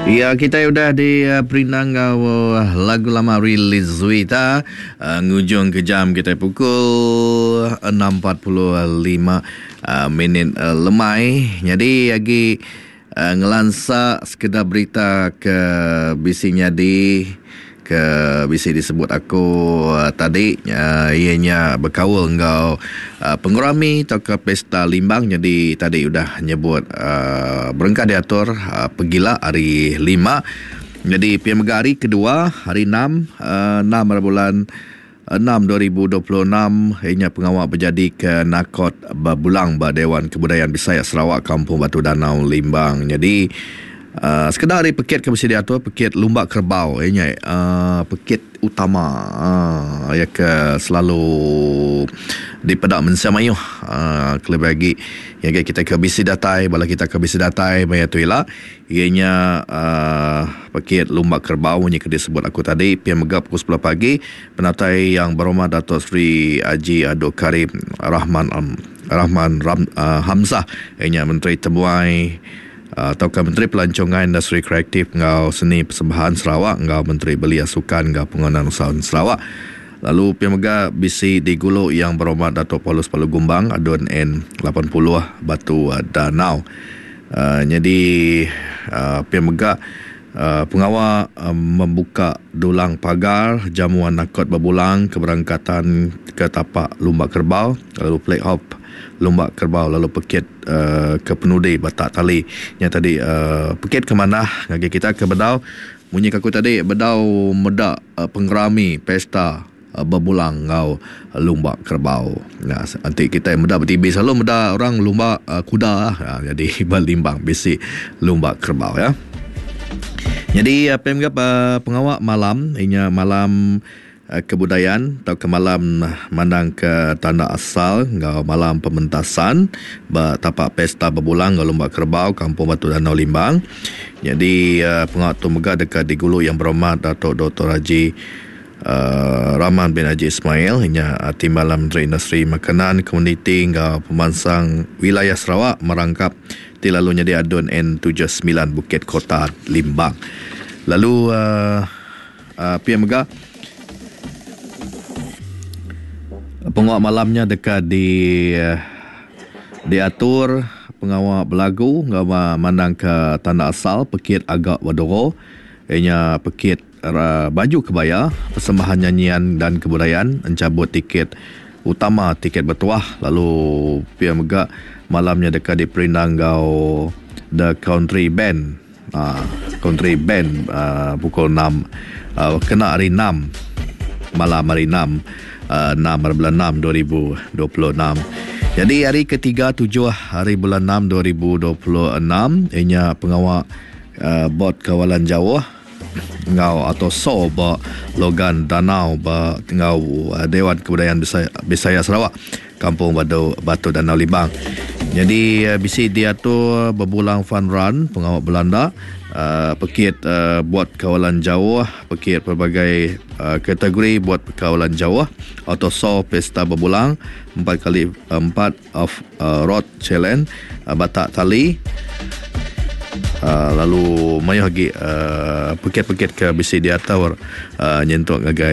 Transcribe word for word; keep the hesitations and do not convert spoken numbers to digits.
Ya, kita udah di uh, perindang enggau uh, lagu lama release Zuita uh, ngujung ke jam kita pukul enam empat puluh lima uh, minit uh, lemai. Jadi lagi uh, ngelansa sekedar berita ke bisi nyadi ke bisi disebut aku uh, tadi uh, ianya berkaul enggau uh, pengurami atau ke pesta Limbang. Jadi tadi udah nyebut uh, berengkah diatur uh, pegila hari lima. Jadi P M G hari kedua hari enam, uh, enam hari bulan enam dua ribu dua puluh enam ianya pengawal berjadi ke Nakot Bebulang ba Dewan Kebudayaan Bisaya Sarawak Kampung Batu Danau Limbang. Jadi Uh, sekedar hari pekit ke mesti diatur pekit lumba kerbau ianya uh, pekit utama uh, ya ke selalu dipedak mensia mayuh uh, kelebih lagi yang kita ke bisi datai bala kita ke bisi datai maya tu ila ianya uh, pekit lumba kerbau nya ke disebut aku tadi P M G pukul sepuluh pagi penatai yang berhormat Datuk Seri Haji Abdul Karim Rahman um, Rahman Ram, uh, Hamzah ianya Menteri Tebuai atau ke Menteri Pelancongan Industri Kreatif ngau Seni Persembahan Sarawak ngau Menteri Belia Sukan ngau Penggunaan Usahawan Sarawak. Lalu P M G B C di Gulu yang berhormat Datuk Paulus Palu Gumbang Adun N lapan puluh Batu Danau. Uh, jadi uh, P M G uh, pengawal uh, membuka dulang pagar jamuan nakot berbulang keberangkatan ke tapak lumba kerbau lalu play off lumba kerbau lalu pekit uh, ke penudi batak tali. Yang tadi uh, pekit ke mana ngagi kita ke bedau munyi aku tadi bedau medak uh, penggerami pesta uh, berbulang ngau lumba kerbau. Nah, nanti kita medak ber T V selalu medak orang lumba uh, kuda uh, jadi berlimbang bisi lumba kerbau ya. Jadi uh, P M G uh, pengawal malam inya malam kebudayaan atau ke malam mandang ke tanda asal ngau malam pementasan tapak pesta berbulang ngau lumba kerbau Kampung Batu Danau Limbang. Jadi uh, pengawal tu mega dekat di Gulu yang berhormat Datuk Doktor Haji uh, Rahman bin Haji Ismail inya uh, Timbalan Menteri Industri Makanan Komuniti ngau Pemansang Wilayah Sarawak merangkap ti lalu jadi Adun N tujuh sembilan Bukit Kota Limbang. Lalu uh, uh, P M G pengawal malamnya dekat di diatur pengawal belagu ngau mandang ke tanda asal pekit agak wadoro ianya pekit uh, baju kebaya persembahan nyanyian dan kebudayaan encabut tiket utama tiket bertuah. Lalu P M G malamnya dekat di perindang ngau The Country Band uh, Country Band uh, pukul enam uh, kena hari enam malam hari enam enam hari bulan enam dua ribu dua puluh enam. Jadi hari ketiga tujuh hari bulan enam dua ribu dua puluh enam ianya pengawal uh, bot kawalan jauh ngau atau so ba Logan Danau ba ngau uh, Dewan Kebudayaan Bisaya, Bisaya Sarawak Kampung Batu, Batu Danau Limbang. Jadi uh, bisi diatur berbulang fun run pengawal Belanda uh, pekit uh, buat kawalan jauh pekit pelbagai uh, kategori buat kawalan jauh atau so pesta berbulang empat kali empat of uh, road challenge uh, batak tali uh, lalu mayuh lagi uh, pekit-pekit ke bisi diatur uh, nyentuk ngagai